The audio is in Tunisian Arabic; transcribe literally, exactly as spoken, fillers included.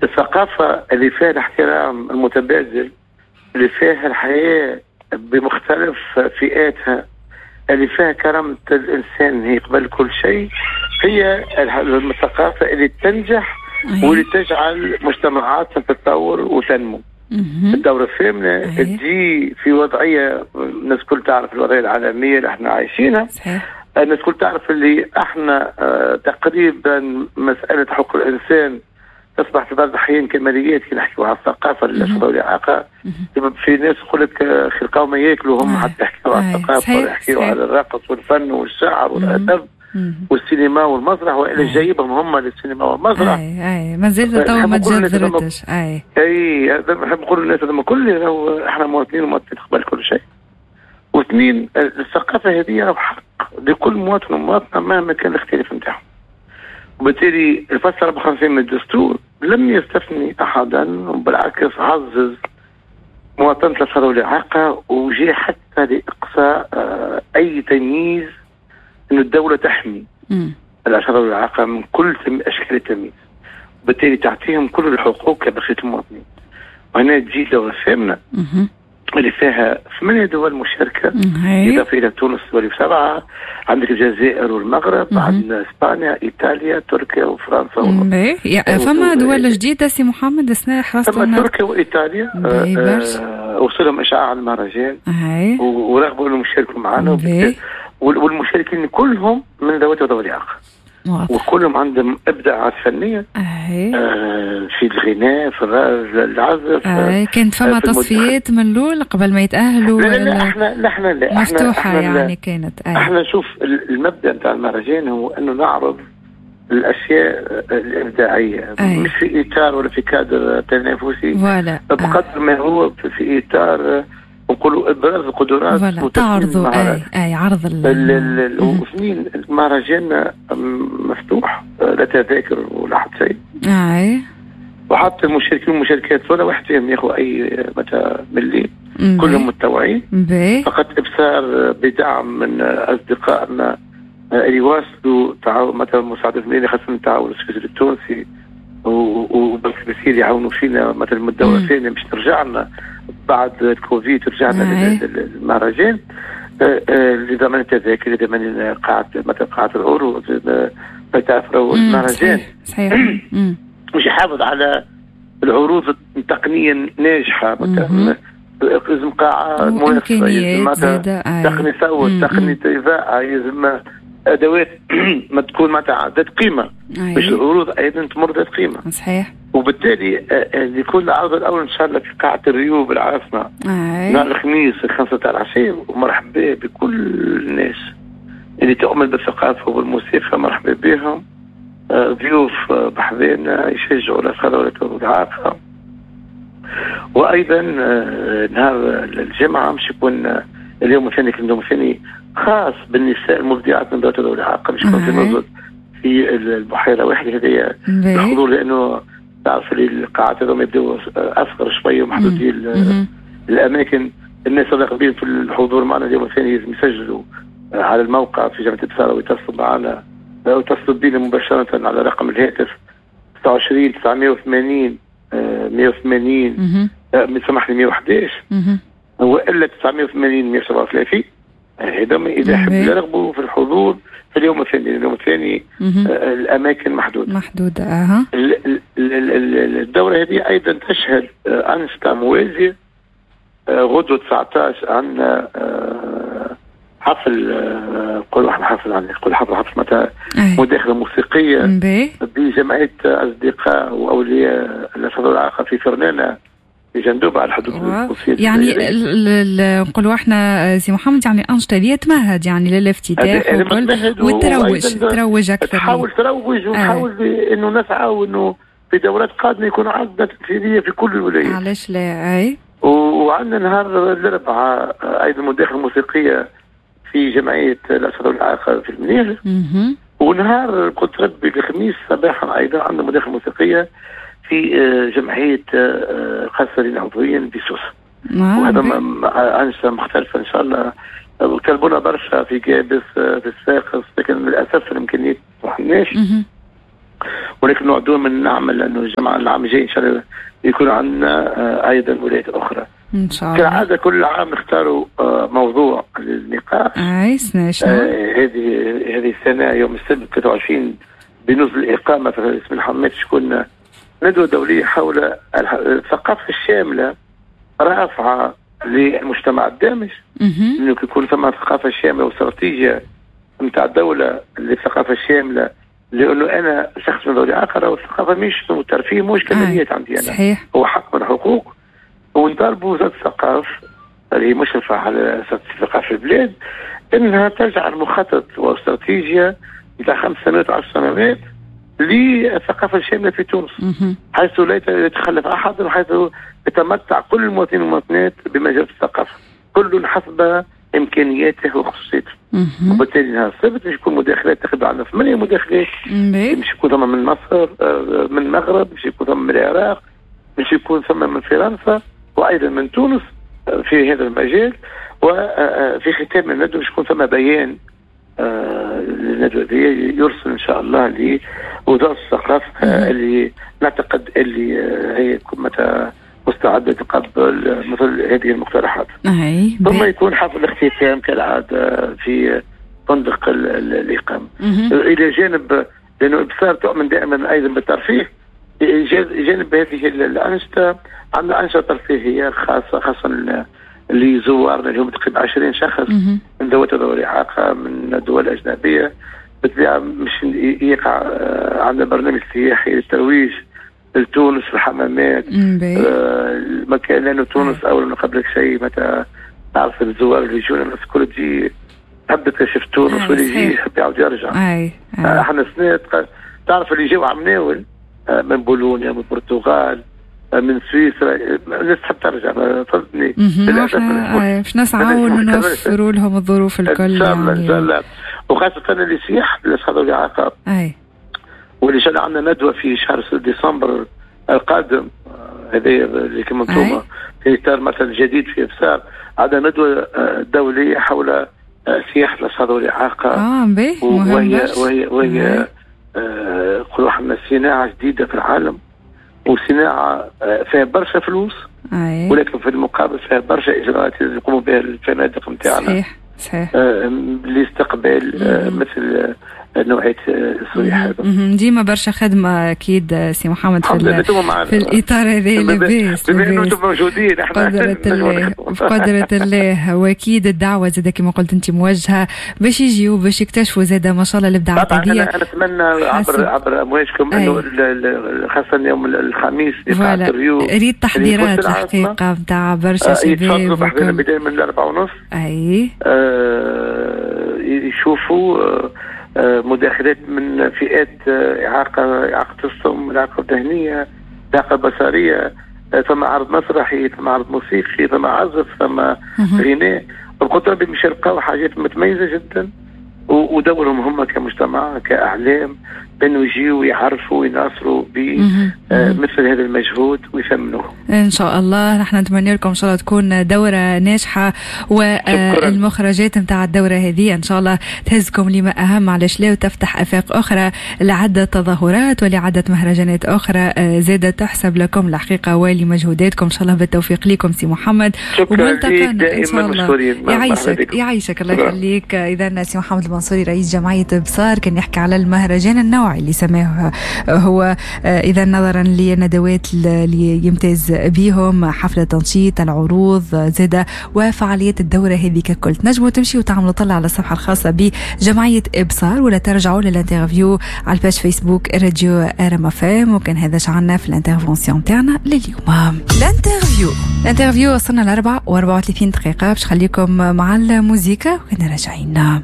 الثقافة اللي فيها الاحترام المتبادل، اللي فيها الحياة بمختلف فئاتها، اللي فيها كرامة الإنسان هي قبل كل شيء، هي الثقافة اللي تنجح واللي تجعل مجتمعاتنا تتطور وتنمو. الدورة الثامنة تجي في وضعية الناس الكل تعرف الوضعية العالمية اللي احنا عايشينها. صحيح. الناس الكل تعرف اللي احنا اه تقريبا مسألة حقوق الإنسان تصبح في بعض الأحيان كماليات. كي نحكيو على الثقافة للأشخاص ذوي الإعاقة، في ناس يقول لك خلقاو ما ياكلوا هم، حتى يحكيو على الثقافة ويحكيو على الرقص والفن والشعر والأدب والسينما والمسرح، والا جايبهم هم للسينما والمسرح. اي اي مازال تو ما تجذرتش. اي اي نحب نقول للناس هذوما كل احنا مواطنين ومواطنين قبل كل شيء. واثنين، الثقافة هذه حق لكل مواطن ومواطنه مهما كان الاختلاف نتاعهم. وبالتالي الفصل أربعة وخمسين من الدستور لم يستثني احدا، وبالعكس عزز مواطنه الاشخاص ذوي الاعاقة، وجاء حتى لاقصاء اي تمييز، انه الدولة تحمي الاشخاص ذوي الاعاقة من كل اشكال التمييز، وبالتالي تعطيهم كل الحقوق كبقية المواطنين. وهنا تجي الدورة الثامنة اللي فيها ثمانية دول مشاركة، إضافة إلى تونس تولي سبعة، عندك الجزائر والمغرب، عندنا إسبانيا، إيطاليا، تركيا وفرنسا. و... فما دول جديدة سي محمد السنة حرصت؟ فما تركيا وإيطاليا آه وصلهم إشعاع على المهرجان ورغبوا أنهم يشاركوا معنا، والمشاركين كلهم من ذوات وذوي الإعاقة، وكلهم عندهم ابداعات فنية آه في الغناء، في العزف. آه كانت فما تصفيات من الاول قبل ما يتاهلوا؟ لا لا احنا لا احنا لا مفتوحة احنا يعني كانت. آه. احنا شوف المبدا نتاع المهرجان هو انه نعرض الاشياء الابداعية، أي. مش في اطار ولا في كادر تنافسي، بقدر ما هو في اطار نقولوا ابراز القدرات تعرضوا. اي اي عرض ال واثنين، المهرجان مفتوح، لا تذاكر ولا حتى شيء. اي وحتى المشاركين والمشاركات ولا واحد فيهم ياخذ اي متى ملي، كلهم متطوعين. فقط ابصار بدعم من اصدقائنا اللي واصلوا تعاون مثلا مساعدة المالية، خاصة التعاون السويسري التونسي وبنك بسير يعاونوا فينا مثلا من الدورة الثانية باش ترجع لنا بعد الكوفيد، رجعنا للمهرجان لضمان التذاكر، لضمان قاعة مثلا قاعة العروض، تعرفوا المهرجان صحيح مش يحافظ على العروض التقنية ناجحة، مثلا لازم قاعة مناسبة، لازم تقني صوت، تقني إضاءة، لازم ادوات ما تكون معناتها ذات قيمة باش العروض ايضا تمر ذات قيمة. صحيح. وبالتالي يكون العرض الاول ان شاء الله في قاعة الريو بالعاصمة نهار الخميس الخمسة تاع العشية، ومرحبا بكل الناس اللي تؤمن بالثقافة والموسيقى، مرحبا بهم. ضيوف بحذانا يشجعوا الاشخاص ذوي الاعاقة. وايضا نهار الجمعة مش يكون اليوم الثاني، اليوم الثاني خاص بالنساء المبدعات من ذوات الاعاقة، مش يكون في نزل في البحيرة واحدة هذه الحضور، لانه تعرف القاعات هذوما يبداو اصغر شوية ومحدودين الاماكن. الناس الراغبين في الحضور معنا اليوم الثاني لازم يسجلوا على الموقع في جامعه ابصاره ويتصلوا معنا او يتصلوا بينا مباشرة على رقم الهاتف تسعة وعشرين تسعمية وثمانين مية وثمانين سامحني مية وحداش والا تسعمية وثمانين مية وسبعة وثلاثين. هذا اذا حبوا يرغبوا في الحضور في اليوم الثاني. اليوم الثاني آه الاماكن محدودة محدودة. اها الدورة هذه ايضا تشهد آه انشطة موازية. آه غدوه تسعطاش عندنا آه حفل، نقولوا آه احنا حفل، يعني نقول حفل حفل معناتها مداخله موسيقية بجمعية اصدقاء واولياء الاشخاص ذوي الاعاقة في فرنانه في جندوبة على الحدود التونسية. يعني نقولوا احنا سي محمد يعني الانشطة هذه تمهد يعني للافتتاح وكل وتروج تروج اكثر، تحاول تروج وتحاول آه. انه نسعى وانه في دورات قادمة يكون عندنا تمثيلية في كل الولايات. علاش لا؟ اي. وعندنا نهار الاربعاء ايضا مداخله موسيقية في جمعية الاشخاص ذوي الاعاقة في المنيهله. ونهار قلت ربي الخميس صباحا ايضا عندنا مداخله موسيقية في جمعية القاصرين عضويا بسوسه. وهذا انشطة مختلفة ان شاء الله، وطلبونا برشا في جابس في الصفاقس، لكن للاسف الامكانيات ما سمحناش. ولكن نوعدوهم من نعمل انه الجمعة العام الجاي ان شاء الله يكون عندنا ايضا ولايات اخرى. ان شاء الله. كالعادة كل عام نختاروا موضوع للنقاش. اي سنة شنو؟ هذه هذه السنة يوم السبت ثلاثة وعشرين بنزل الاقامة في اسم الحمامات تكون ندوه دولية حول الثقافة الشاملة رافعه للمجتمع الدامج. انه يكون ثم ثقافة شاملة واستراتيجيه نتاع الدولة للثقافة الشاملة، لانه انا شخص من ذوي الاعاقة والثقافة مش الترفيه مش كماليات عندي انا. صحيح. هو حق من الحقوق، ونطالبوا وزارة الثقافة اللي هي مشرفة على الثقافة في البلاد انها تجعل مخطط واستراتيجيه نتاع خمس سنوات وعشر سنوات للثقافة الشاملة في تونس، حيث لا يتخلف احد وحيث يتمتع كل المواطنين والمواطنات بمجال الثقافة، كل حسب امكانياته وخصوصيته. وبالتالي نهار السبت باش يكون مداخلات تقريبا عندنا ثمانية مداخلات، باش يكون ثم من مصر، من المغرب، باش يكون ثم من العراق، باش يكون ثم من فرنسا وايضا من تونس في هذا المجال. وفي ختام الندوة باش يكون ثم بيان للندوه هذه يرسل ان شاء الله لوزارة الثقافة اللي نعتقد اللي هي متى مستعدة تقبل مثل هذه المقترحات. أي. ثم يكون حفل الاختتام كالعادة في فندق الإقامة. إلى جانب، لأنه إبصار تؤمن دائما أيضا بالترفيه، جانب هذه الأنشطة عندنا أنشطة ترفيهية خاصة خاصة لزوارنا اللي هم تقريبا عشرين شخص من ذوات ذوي الإعاقة من دول أجنبية. بالطبيعة مش يقع عندنا برنامج سياحي للترويج لتونس، الحمامات، آه المكان، لانه تونس اول ما قبل شيء متى تعرف الزوار اللي يجونا الناس الكل تجي تحب تكتشف تونس، واللي يجي يحب يعاود يرجع. أي. أي. احنا سنة تعرف اللي جاوا عمناول من بولونيا، من البرتغال، من سويسرا، الناس تحب ترجع، فهمتني؟ باش نسعوا ونوفروا لهم الظروف الكل. ان شاء الله ان شاء الله، وخاصة اللي سياح لاصحاب الاعاقة. اي. واللي شاء الله عندنا ندوه في شهر ديسمبر القادم، هذا اللي كما انتم في اطار مثلا جديد في ابصار، عندنا ندوه دولية حول سياحة الاصحاب الاعاقة. اه باهي، وهي وهي وهي نقولوا احنا صناعة جديدة في العالم، وصناعة فيها برشا فلوس. أي. ولكن في المقابل فيها برشا اجراءات يقوموا بها الفنادق نتاعنا. صحيح صحيح. آه لاستقبال آه مثل نوعية السياح هذا. ديما برشا خدمة أكيد سي محمد في, في الإطار هذا. لاباس بما أنه أنتم موجودين احنا بقدرة الله بقدرة الله، وأكيد الدعوة زادة كما قلت أنت موجهة باش يجيو باش يكتشفوا زادة ما شاء الله الإبداعات هذه. أنا أتمنى عبر عبر أمواجكم أنه خاصة يوم الخميس إقامة الريو، ريت تحضيرات الحقيقة نتاع برشا شباب يتفضلوا بحذانا بداية من الأربعة ونص. أي يشوفوا مداخلات من فئات إعاقة، إعاقة الصم، الإعاقة الذهنية، الإعاقة البصرية، ثم عرض مسرحي، ثم عرض موسيقي، ثم عزف، ثم غناء. القدرة باش يلقاو حاجات متميزة جدا، ودورهم هم كمجتمع كأعلام بأنه يجيوا ويعرفوا ويناصروا بمثل هذا المجهود ويثمنوه. إن شاء الله نحن نتمنى لكم إن شاء الله تكون دورة ناجحة، والمخرجات نتاع الدورة هذه إن شاء الله تهزكم لما أهم، علاش لا، وتفتح آفاق أخرى لعدة تظاهرات ولعدة مهرجانات أخرى زادة تحسب لكم الحقيقة ولمجهوداتكم. إن شاء الله بالتوفيق لكم سي محمد. شكرا لك دائما مشكورين. يعيشك يعيشك الله يخليك. إذا سي محمد المنصوري رئيس جمعية إبصار كان يحكي على المهرجان النوعي اللي سماه هو، إذا نظرا للندوات اللي يمتاز بيهم، حفلة تنشيط، العروض زادة، وفعاليات الدورة هذه ككل. تنجموا تمشي وتعملوا طلع على الصفحة الخاصة بجمعية إبصار، ولا ترجعوا لل interview على ال page فيسبوك راديو ار ام اف ام. وكان هذا شعلنا في ال intervention تاعنا لليوم. l'interview l'interview وصلنا لأربعة وأربعة وثلاثين دقيقة، باش خليكم مع الموزيكا وكنا راجعين.